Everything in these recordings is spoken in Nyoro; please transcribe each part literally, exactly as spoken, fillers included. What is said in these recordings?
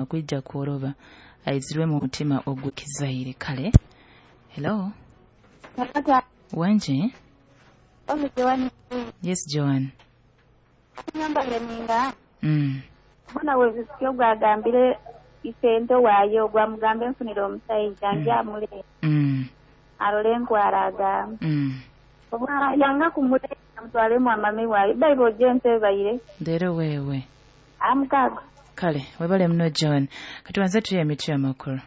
Okwijja kworoba aizirwe mu mutima ogw'ekizaire. Kale, hello. Wangi? Yes, Joan. Mm. Mbona wezisyo gwagambire isente waayo gwamugambe nfunire omusajja njamule Mm. arole enkwara agamba Mm. oba yanga kumuleeta mutwalemu amame waayo bayiba ojja ensi baire Leero weewe. Amukaaga. Kale, webale muno Joan. Katubanze tuye emiti amakulu.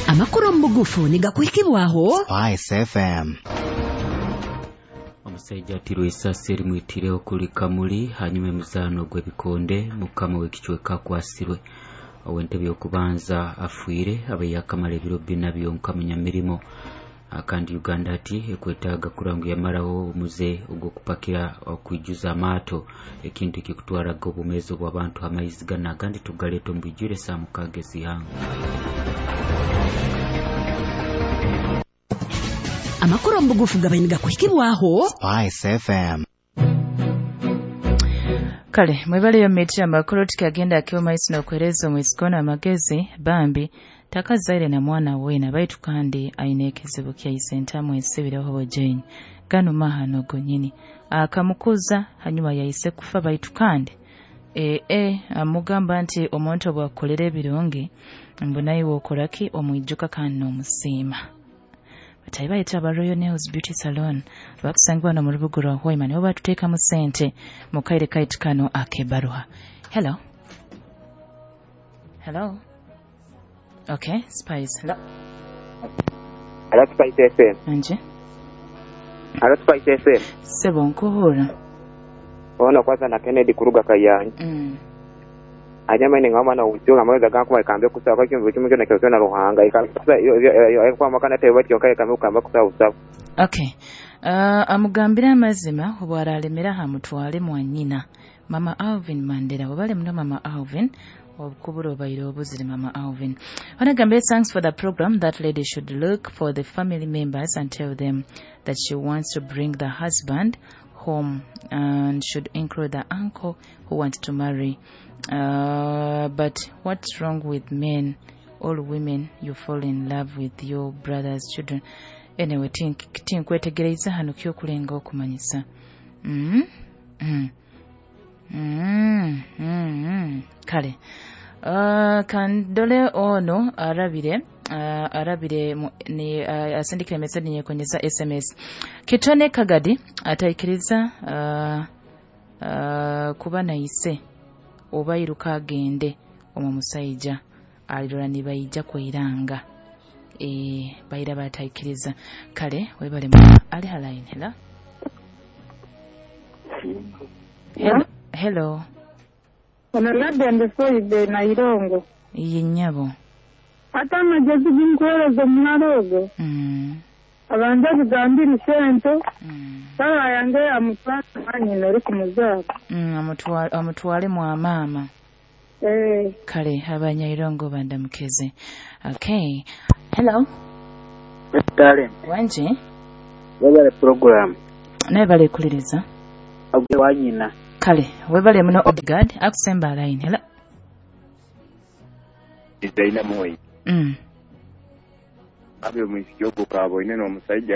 Amakulu omu bugufu nigakuhikibwaho Spice F M. Omusajja atirwe esasi erimwitire okuli Kamuli. Hanyuma emizaano gw'ebikonde, mukama w'ekicweka akwasirwe. Ow'entebe y'okubanza afiire abe yakamala ebiro bina byonka munyamirimo. Kandi Uganda ati ekwetaaga kuranga yamaraho omuze ogw'okupakira okwijuza amaato, ekintu ekikutwaraga obumeezi obw'abantu amaizi gana agandi tugaleeta omu bwijwire saa mukaaga ez'ihanga. Amakulu omu bugufu gabaire nigakuhikibwaho Spice F M. Kale, mwebaleyo miti amakulu. Tikagenda akiwa maiso n'okwereza omwisikono amagezi bambi takazaire na mwana wena, baitu kandi aine ekizibu kyaise entamu esibireho bojeni gano mahano gonyini akamukuza hanyuma yaise kufa, baitu kandi ee amugamba nti omuntu obwakukolera ebirungi mbu naiwe okoraki omwijuka kandi n'omusiima. Batayi bayita aba Royal Nails Beauty Salon bakusangibwa no mu rubuga rwa Hoima, nibo batuteekamu sente mu kaire kaitu kano ak'ebbaruha. Hello, hello. Okay, Spice, hello. Hello, Spice F M. Nje. Hello, Spice F M. Sebo, nkuhura. Ono kwanza na Kennedy kuruga Kayanja. mm. Anyama ni ngoma na usiyo amaweza gankuba ikambe kusaba kwa kintu kimu kyona kyona kyona Ruhanga ikamba kwa makana tebe batyo kaye kambe kamba kusaba usaba. Okay, uh, amugambire amazima, obwaralemera hamutwale mwanyina Mama Alvin Mandela. Webale muno Mama Alvin obukubura obaire obuzire Mama Alvin. Wanagambire, thanks for the program. That lady should look for the family members and tell them that she wants to bring the husband home and should include the uncle who wants to marry. uh, but what's wrong with men all women? You fall in love with your brother's children. Anyway, tink- tinkwetegereza hano kyokulenga okumanyisa. mm? Mm. Mm, mm, mm. Kale, uh, kandole ono arabire uh, arabire mu- ni uh, asindikire message nyekonyeza S M S. Kitone Kagadi ataikiriza uh, uh, kuba naise oba iruka agende omwo musaija alirora nibaija kweiranga e, baira bataikiriza. Kale, webale mu- ali halaini. Hello, hello, hello. Ono Ladende Foibe Nairongo. Ye nnyabo. Ate amagezi ginkuweereza omuwala ogwo mm. abanze bigambire sente Mm. baba yange amutwale mwanyina ori kumuzaara. Mm, amutwa- amutwale mwa maama. Eh. Kale, abanyairongo bandamukeze. Okay, hello. Talent. Wanje. Webale program. Naye balekuliriza. Agwe wanyina. Kale, webale muno Odgard. Akusemba line, hello. Designer Moi. mm. Abe omwisiki ogwo kaboine n'omusajja.